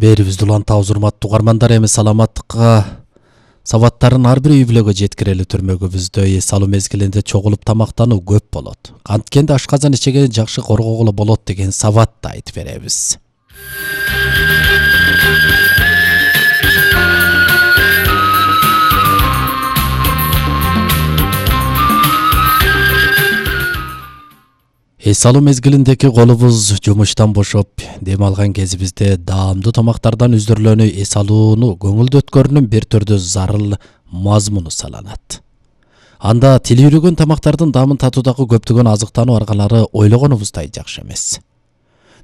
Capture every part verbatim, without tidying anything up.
Берибизди улантабыз урматтуу угармандар. Эми саламаттыкка сабаттарын ар бир үй бүлөгө жеткирели түрмөгүбүздө эс алуу мезгилинде чогулуп тамактануу көп болот. Анткенде ашказан ичегени жакшы коргогулу болот деген сабатты айтып беребиз. Эс алуу мезгилиндеки колубуз жумуштан бошоп, дем алган кезибизде даамдуу тамактардан үздүрүлөнүү эс алууну көңүлдүү өткөрүүнүн бир түрдүү зарыл мазмуну саналат. Анда тили үйрөгөн тамактардын даамын татуудагы көптөгөн азыктануу аргалары ойлогонубуздай жакшы эмес.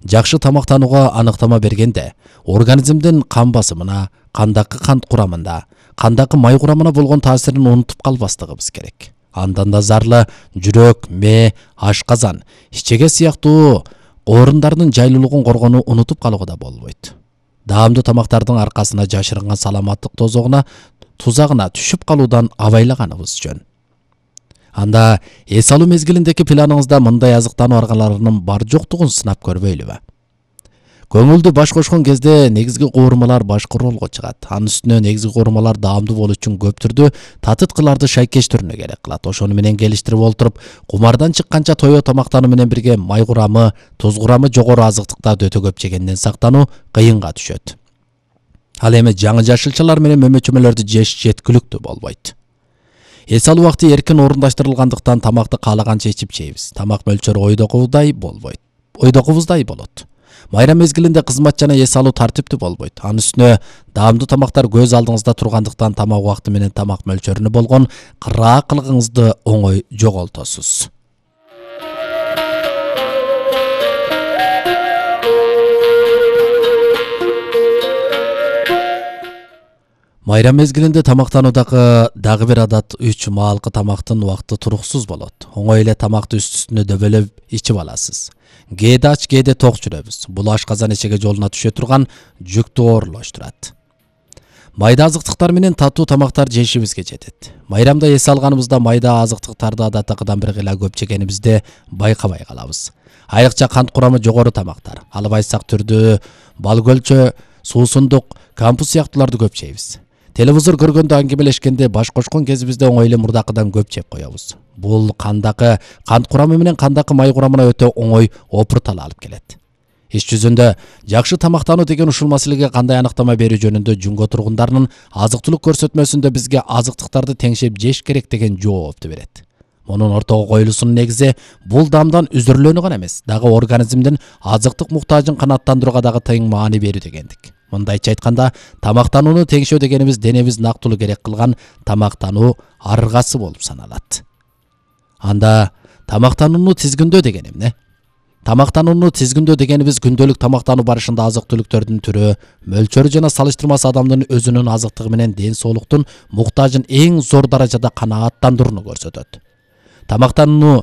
Жакшы тамактанууга аныктама бергенде, организмдин кан басымына, кандагы кант курамында, кандагы май курамына болгон таасирин унутуп калбастыгыбыз керек. Андан да зарлы жүрөк, мээ, ашказан, ичеге сыяктуу оорундарынын жайлуулугун коргонуу унутуп калууга да болбойт. Даамдуу тамактардын аркасына жашырынган саламаттык тозогуна, тузагына түшүп калуудан абайлаганыбыз жөн. Анда эс алуу мезгилиндеки планыңызда мындай азыктануу аргаларынын бар жоктугун сынап көрбөйлүбү? Көңүлдү баш кошкон кезде негизги куурмалар башкы ролго чыгат. Анын үстүнө негизги куурмалар даамдуу болуу үчүн көп түрдүү татыткыларды шайкеш түрүнө керек кылат. Ошону менен келиштирип олтуруп, кумардан чыкканча тоё тамактануу менен бирге май курамы, туз курамы жогору азыктыктарды өтө көп жегенден сактануу кыйынга түшөт. Ал эми жаңы жашылчалар менен мөмөчөмөлөрдү жеш жеткиликтүү болбойт. Эс алуу убакыты эркин орундаштырылгандыктан тамакты каалаганча ичип жейбиз. Тамак мөлчөрү ойдогубуздай болбойт. Ойдогубуздай болот. Майрам мезгилинде кызмат жана эс алуу тартиптүү болбойт. Анын үстүнө даамдуу тамактар көз алдыңызда тургандыктан тамак убакыты менен тамак мөлчөрүнө болгон кыраакылыгыңызды оңой жоголтосуз. Майрам мезгилинде тамактануудагы дагы бир адат үч маалкы тамактын убакыты туруксуз болот. Оңой эле тамакты үст-үстүнө дөбөлөп ичип аласыз. Кээде ач, кээде ток жүрөбүз. Бул ашказан ичеге жолуна түшө турган жүктү оорлоштурат. Майда азыктыктар менен татуу тамактар жешибизге жетет. Майрамда эс алганыбызда майда азыктыктарды адаттагыдан бир кыйла көп жегенибизде байкабай калабыз. Айрыкча кант курамы жогору тамактар, албайсак түрдүү бал көлчө, суусундук, кампус сыяктууларды көп жейбиз. Телевизор көргөндө аңгемелешкенде баш кошкон кезибизде оңой эле мурдакыдан көп жеп коебуз. Бул кандагы кант курамы менен кандагы май курамына өтө оңой опуртала алып келет. Иш жүзүндө жакшы тамактануу деген ушул маселеге кандай аныктама берүү жөнүндө Жунго тургундарынын азык-түлүк көрсөтмөсүндө бизге азыктыктарды теңшеп жеш керек деген жоопту берет. Мунун ортого коюлуусунун негизи бул даамдан үздүрүлөнүү гана эмес, дагы организмдин азыктык муктажын канааттандырууга дагы тең маани берүү дегендик. Мындайча айтканда, тамактанууну теңшөө дегенибиз денебиз нактылуу керек кылган тамактануу аргасы болуп саналат. Анда тамактанууну тизгиндөө деген эмне? Тамактанууну тизгиндөө дегенибиз күндөлүк тамактануу барышында азык-түлүктөрдүн түрү, мөлчөрү жана салыштырмасы адамдын өзүнүн азыктыгы менен ден соолуктун муктажын эң зор даражада канааттандырууну көрсөтөт. Тамактанууну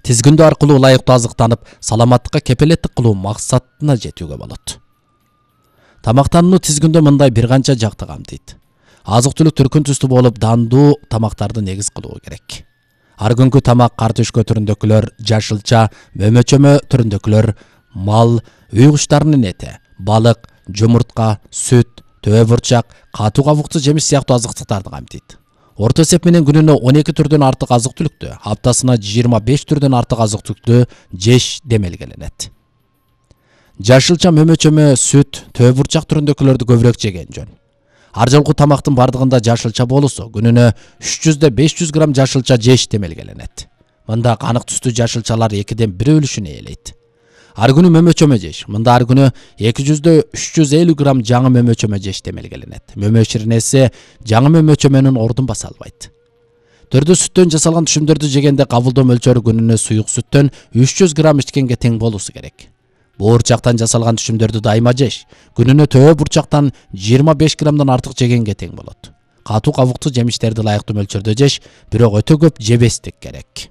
тизгиндөө аркылуу ылайыктуу азыктанып, саламаттыкка кепилеттик кылуу максатына жетүүгө болот. Тамактанууну тизгиндөө мындай бир канча жакты камтыйт. Азык-түлүк түркүн түстүү болуп, дандуу тамактарды негиз кылуу керек. Ар күнгү тамак картөшкө түрүндөгүлөр, жашылча, мөмөчөмө түрүндөгүлөр, мал, үй куштарынын эти, балык, жумуртка, сүт, төбө бурчак, катуу кабуктуу жемиш сыяктуу азыктыктарды камтыйт. Орто эсеп менен күнүнө он эки түрдөн артык азык-түлүктү, аптасына жыйырма беш түрдөн артык азык-түлүктү жеш демелгеленет. Жашылча, мөмөчөмө, сүт, төбө бурчак түрүндөгүлөрдү көбүрөөк жеген жөн. Ар жолку тамактын бардыгында жашылча болусу, күнүнө үч жүздөн беш жүз грамм жашылча жеш демелгеленет. Мында канык түстүү жашылчалар экиден бир өлүшүн ээлейт. Ар күнү мөмөчөмө жеш. Мында ар күнү эки жүздөн үч жүз элүү грамм жаңы мөмөчөмө жеш демелгеленет. Мөмө ширнеси жаңы мөмөчөмөнүн ордун баса албайт. Төрдө сүттөн жасалган түшүмдөрдү жегенде кабылдоо мөлчөрү күнүнө суюк сүттөн үч жүз грамм ичкенге тең болусу керек. Буурчактан жасалган түшүмдөрдү дайыма жеш. Күнүнө төбө бурчактан жыйырма беш граммдан артык жегенге тең болот. Катуу кабуктуу жемиштерди ылайыктуу мөлчөрдө жеш, бирок өтө көп жебестик керек.